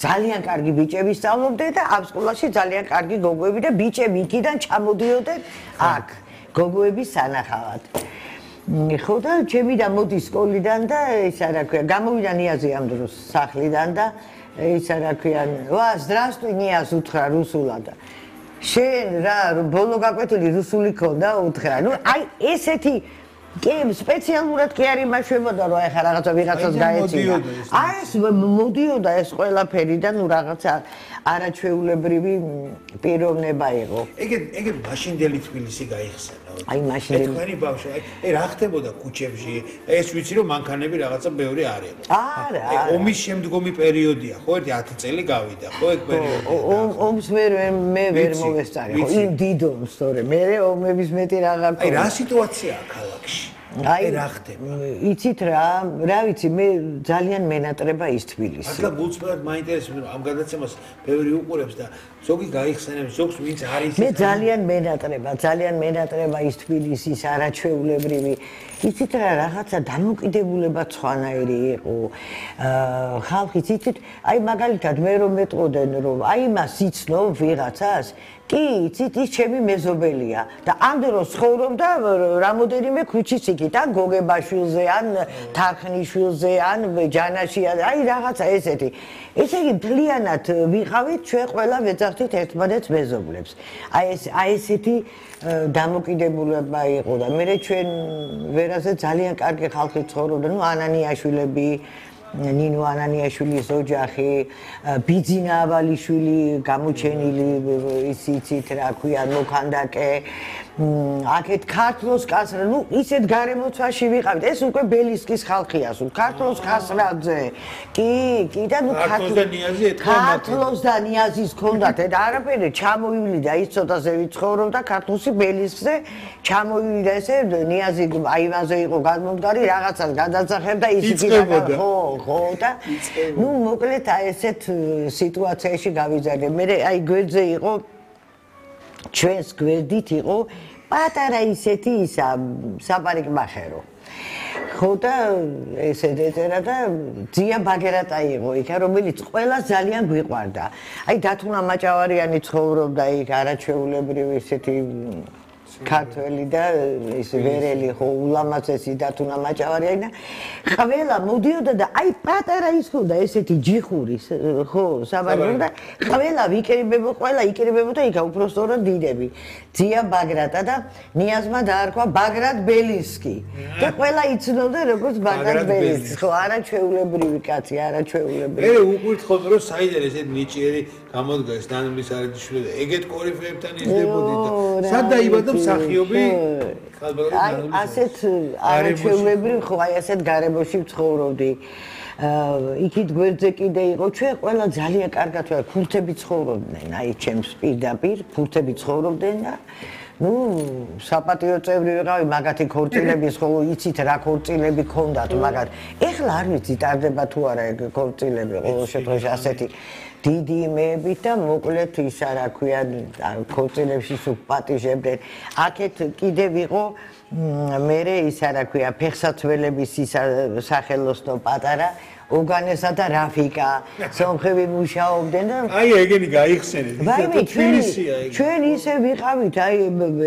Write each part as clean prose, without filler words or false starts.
ძალიან კარგი ბიჭები სწავლობდნენ და ამ სკოლაში ძალიან კარგი გოგოები და ბიჭები იქიდან ჩამოდიოდნენ აქ გოგოების სანახავად. ხო და ჩემი და მოდი სკოლიდან და ისა რა ქვია გამოვიდა ნიაზი ამ დროს სახლიდან და ისა რა ქვია ვა здравствуй ნიაზ უთხრა რუსულად შენ რა ბოლო გაკვეთილი რუსული ქონდა უთხრა ნუ აი ესეთი კი სპეციალურად კი არ იმაშვებოდა რომ ეხა რაღაცა ვიღაცას გაეცინა აი ეს მოდიოდა ეს ყველაფერი და ნუ რაღაცა არაჩვეულებრივი პიროვნება იყო ეგ მაშინდელი თბილისი გაიხსენა აი მაშინდელი თქვენი ბავშვი აი რა ხდებოდა ქუჩებში ეს ვიცი რომ მანქანები რაღაცა ბევრი არ იყო არა ომის შემდგომი პერიოდია ხო ერთი 10 წელი გავიდა ხო ეგ პერიოდი ომს მე ვერ მოვესწარი ხო იმ დიდომს თორე მე ომების მეტი აღარ აი რა სიტუაციაა ქალაქში აი რა ხდება იცით რა ვიცი მე ძალიან მენატრება ის თბილისი ახლა გულწრფელად მაინტერესებს რომ ამ გადაცემას ბევრი უყურებს და ზოგი გაიხსენებს ზოგს ვინც არის მე ძალიან მენატრება ის თბილისის არაჩვეულებრივი იცით რაღაცა დამოკიდებულება სხვანაირი იყო ხალხიც იცით აი მაგალითად მე რომ მეტყოდენ რომ აი მას იცნო ვიღაცას კი იცით ის ჩემი მეზობელია და ამ დროს ცხოვრობდა რამოდენიმე ქუჩის იქით ან გოგებაშვილზე ან თარხნიშვილზე ან ჯანაში აი რაღაცა ესეთი ესე იგი მთლიანად ვიყავით ჩვენ ყველა ვეძახდით ერთმანეთს მეზობლებს აი ესეთი დამოკიდებულება იყო და მე ჩვენ ვერაზე ძალიან კარგი ხალხი ცხოვრობდა ნუ ანანიაშვილები ნინო ანანიაშვილის ოჯახი ბიძინა ავალიშვილი გამოჩენილი ისიც რა ქვია მოქანდაკე აქეთ ქართლოს კასრა ნუ ისეთ გარემოცვაში ვიყავით ეს უკვე ბელისკის ხალხია სულ ქართლოს კასრაძე კი და ნუ ქართლოს და ნიაზის ქონდათ და არაფერი ჩამოვიდა ის ცოტაზე ვიცხოვრობდა ქართლოსი ბელისკზე ჩამოვიდა ესე ნიაზი აივანზე იყო გამომდგარი რაღაცას გადაძახებდა ის ხო და ნუ მოკლედ აი ესეთ სიტუაციაში გავიზარდე მე აი გვერდზე იყო ჩვენს გვერდით იყო პატარა ისეთი ისა საპარიკმახერო ხო და ესე ეწერა და ძია ბაგერატა იყო იქ რომელიც ყველა ძალიან გვიყვარდა აი დათუნა მაჭავარიანი ცხოვრობდა იქ არაჩვეულებრივი ისეთი ქართველი და ის ვერელი ხო ულამაზესი დათუნა მაჭავარიანი და ყველა მოდიოდა და აი პატარა ის ხო და ესეთი ჯიხური ხო საბარგო და ყველა იკრიბებოდა იქა უბრალოდ დიდები ძია ბაგრატა და ნიაზმა დაარქვა ბაგრატ ბელისკი და ყველა იცნობდა როგორც ბაგრატ ბელისკი ხო არაჩვეულებრივი კაცი არაჩვეულებრივი მე უყურთ ხოლმე რომ საიდან ესეთ ნიჭიერი გამოდგეს დანილის არაჯიშვილი და ეგეთ კორიფეებთან იზრდებოდი და სად დაიბადა მსახიობი აი ასეთ არაჩვეულებრივ ხო აი ასეთ გარემოში ვცხოვრობდი იქით გვერდზე კიდე იყო ჩვენ ყველა ძალიან კარგად ვარ ქურთები ცხოვრობდნენ აი ჩემს პირდაპირ ქურთები ცხოვრობდნენ და ნუ საპატიო წევრი ვიყავი მაგათი ქორწილების ხო იცით რა ქორწილები ქონდათ მაგათ ეხლა არ ვიცი ტარდება თუ არა ეგ ქორწილები ყოველ შემთხვევაში ასეთი დიდი იმეებით და მოკლედ ისა რა ქვია ქორწილებში სუპატიჟებდნენ აქეთ კიდევ იყო მერე ისა რა ქვია ფეხსაცველების ისა სახელოსნო პატარა ოგანესა და რაფიკა სომხები მუშაობდნენ და აი ეგენი გაიხსენეთ თბილისია ეგ ჩვენ ისე ვიყავით აი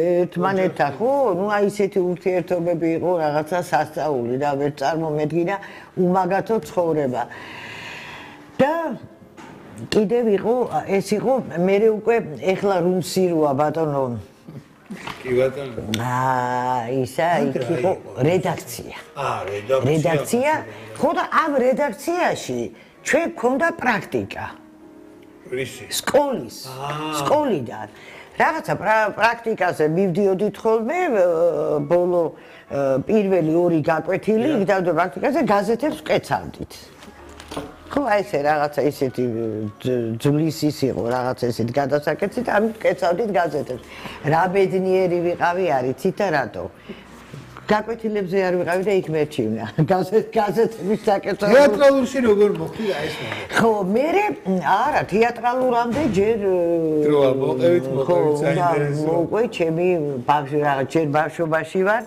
ერთმანეთთან ხო ნუ აი ისეთი ურთიერთობები იყო რაღაცა სასწაული და ვერ წარმომედგინა უმაგათო ცხოვრება და კიდევ იყო ეს იყო მე უკვე ეხლა რუნსიროა ბატონო კი ბატონო ისა იქ იყო რედაქცია რედაქცია ხო და ამ რედაქციაში ჩვენ გქონდა პრაქტიკა სკოლიდან რაღაცა პრაქტიკაზე მივდიოდით ხოლმე ბოლო პირველი ორი გაკვეთილი იქ და პრაქტიკაზე გაზეთებს ვკეცავდით ხო აი ესე რაღაცა ისეთი ძვლის ის იყო რაღაცა ესეთი გადასაკეთებით ამით ვკეცავდით გაზეთებს რა ბედნიერი ვიყავი არიცით და რატო გაკვეთილებზე არ ვიყავი და იქ მერჩივნა გაზეთების საკეთებო თეატრალურში როგორ მოხდა ეს ხო მე არა თეატრალურამდე ჯერ დროა მოყევით საინტერესო მოყვე ჩემი ბავშვი რაღაც ჯერ ბავშვობაში ვარ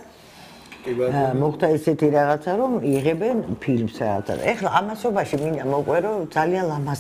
მოხდა ესეთი რაღაცა რომ იღებენ ფილმს რაღაცა ეხლა ამასობაში მინდა მოყვე რომ ძალიან ლამაზ